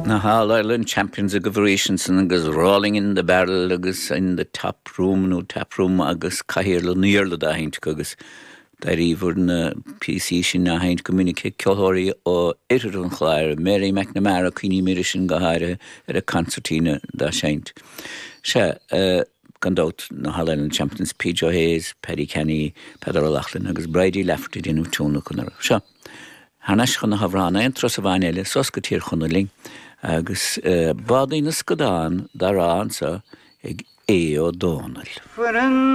Na hAll Ireland Champions agaibh arís ansan agus Rolling in the Barrel agus In the Top Room nó Tap Room agus Cathaoir an Iarla dá sheinnt acu agus d'airíobhair na píosaí sin á sheinnt go minic ag ceoltóirí ó oirthear an Chláir, Mary McNamara, cuimhním uirthi sin go háirithe ar an concertina dá seinnt. Sea, gan dabht, na hAll Ireland Champions, P. Joe Hayes, Paddy Canny, Peadar O'Loughlin agus Bridie Lafferty ag déanamh tionlacan orthu. Seo, thar n-ais chun na hamhráin, aon turas amháin eile, suas go Tír Chonaill linn, agus Bádaí na Scadán dá rá anso ag Aodh Ó Dónaill. Fuair an.